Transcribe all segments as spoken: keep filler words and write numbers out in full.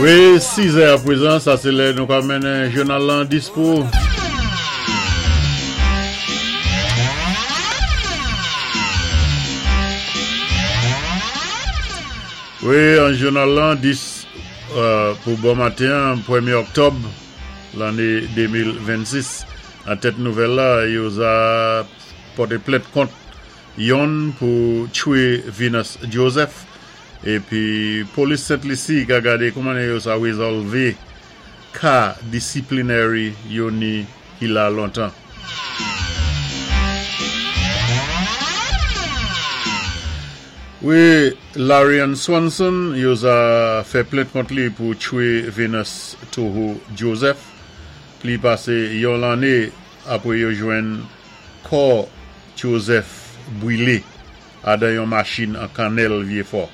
Wi, sis è apwézan, sa sé lè nou ka mennen jounal lan dispo. Wi, an jounal lan dis euh, pou bon maten, pwémyé òktòb lanné de mil vennsis. An tèt nouvèl la, yo za pòté plent kont yonn pou tchwé Venus Joseph épi polis Sent Lisi ka gadé kouman yo sa wézòlvé ka disciplinary yo ni ki la lontan. Wi, Larian Swanson, yo za fè plent kont li pou tchwé Venus Toho Joseph pli pasé yon lanné apwé yo jwenn kò Joseph bwilé adan yon machin an Kannèl Vyéfò.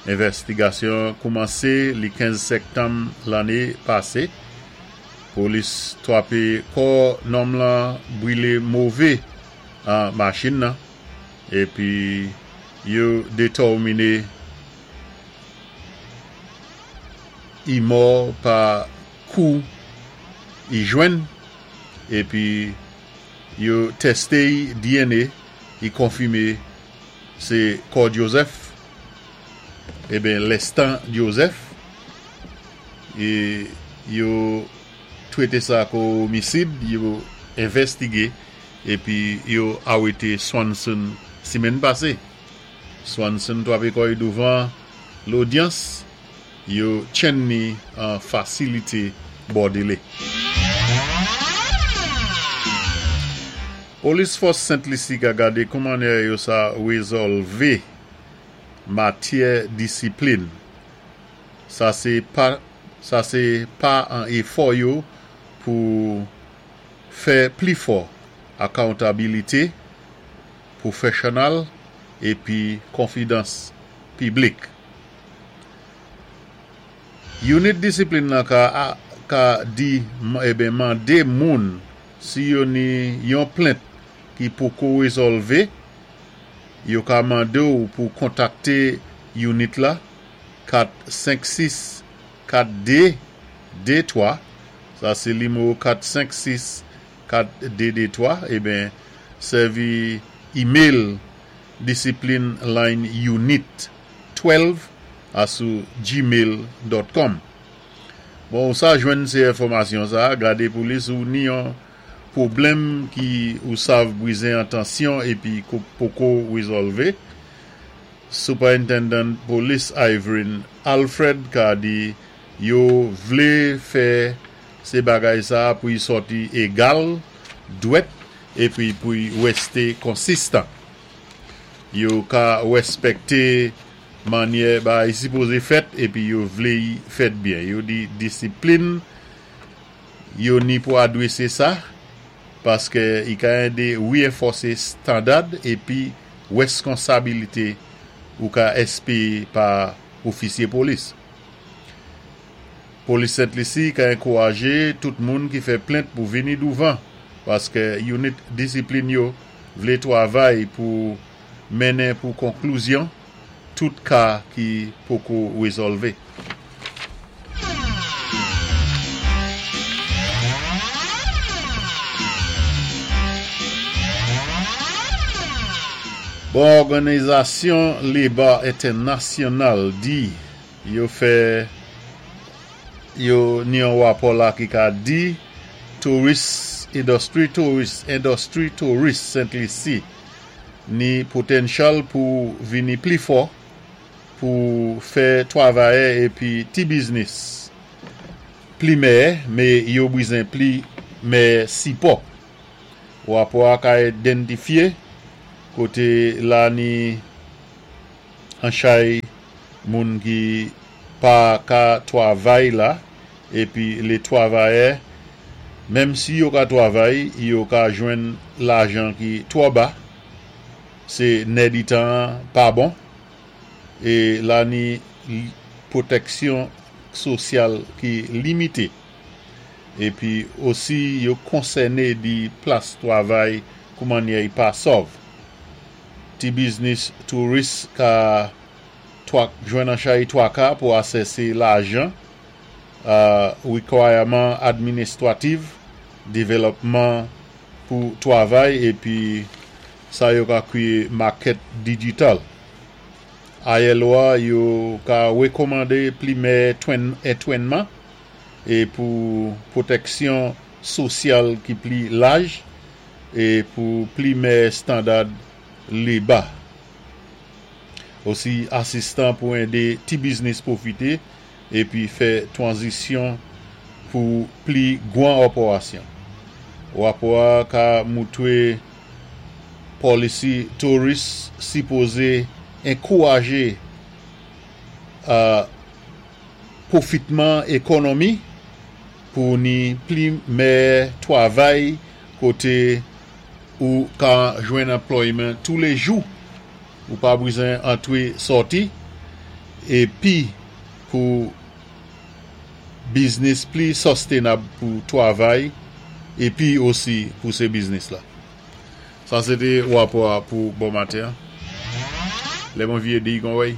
Envèstigasyon koumansé li kenz sektanm lanné pasé. Polis twapé kò nonm lan bwilé mové an machin nan épi yo détèminé i mò pa kou i jwenn épi yo tèsté D N A, i konfimé sé kò Joseph, eben Lestan Joseph, é yo twété sa kou omisid, yo envèstigé épi yo arété Swanson simenn pasé. Swanson twapé kò i douvan lodyans, yo tjenn ni an fasilité Bòdélé. Polis fòs Sent Lisi ka gadé kouman yo sa wézòlvé matyè disiplin. Sa sé pa sa sé pa an éfò yo pou fè pli fò accountability pwofesyonèl épi konfidans piblik. Unit disiplin lan ka, ka di eben mandé moun si yo ni yon plent ki poko wézòlvé, yo ka mandé ou pou kontakté unit la kat senk sis kat dé dé twa, sa sé nimewo kat senk sis kat dé dé twa, eben sèvi email discipline line unit douz asou gmail pwen com. Bon, sa jwenn sé enfòmasyon sa, gadé pou li sou ni yon pwoblèm ki ou sav bwizen atansyon épi poko wézòlvé. Superintendent Police Ivory Alfred ka di yo vlé fè sé bagay sa pou y sòti égal, dwèt, épi pou y wèsté konsistan. Yo ka wèspèkté mannyè bagay sipozé fèt épi yo vlé y fèt byen. Yo di disiplin yo ni pou adwésé sa paské i ka édé reenfòsé standard épi wèskonsabilité ou ka èspéwé pa ofisyé polis. Polis Sent Lisi ka ankourajé tout moun ki fè plent pou vini douvan paské unit disiplin yo vlé twavay pou mennen pou konklizyon tout ka ki poko wézòlvé. Bon, òganizasyon Léba Entènasyonal di yo fè yo ni yon wapò la ki ka di tourist industry tourist industry tourist Sent Lisi ni potential pou vini pli fò pou fè twavayè épi ti biznis pli mèyè, mé yo bizwen pli mèyè sipò. Wapò a ka idantifyé koté la ni an chay moun ki pa ka twavay la épi lé twavayè, menm si yo ka twavay, yo ka jwenn lajan ki twò ba, sé nèditan pa bon é la ni pwotèksyon sosyal ki limité. Épi osi yo konsèné di plas twavay koumannyè pa sòv. Ti biznis touris ka Jwenn an chay twaka pou asèsé lajan, wikwayaman administwativ, dévélopman pou twavay épi sa yo ka kwiyé makèt dijital. I L O a yo ka wékomandé pli mèyè entwénman é pou pwotèksyon sosyal ki pli laj é pou pli mèyè standard léba. Osi asistan pou édé ti biznis pwofité épi fè twanzisyon pou pli gwan òpórasyon. Wapò a ka moutwé polisi touris sipozé ankouwajé pwofitman ékonomi pou ni pli mèyè twavay koté ou ka jwenn anplòyman touléjou, ou pa bizwen antwé sòti, épi pou biznis pli sostenab pou twavay épi osi pou sé biznis la. Sa sé té wapò a pou bon maten. Lè mwen vyé di kon wèy.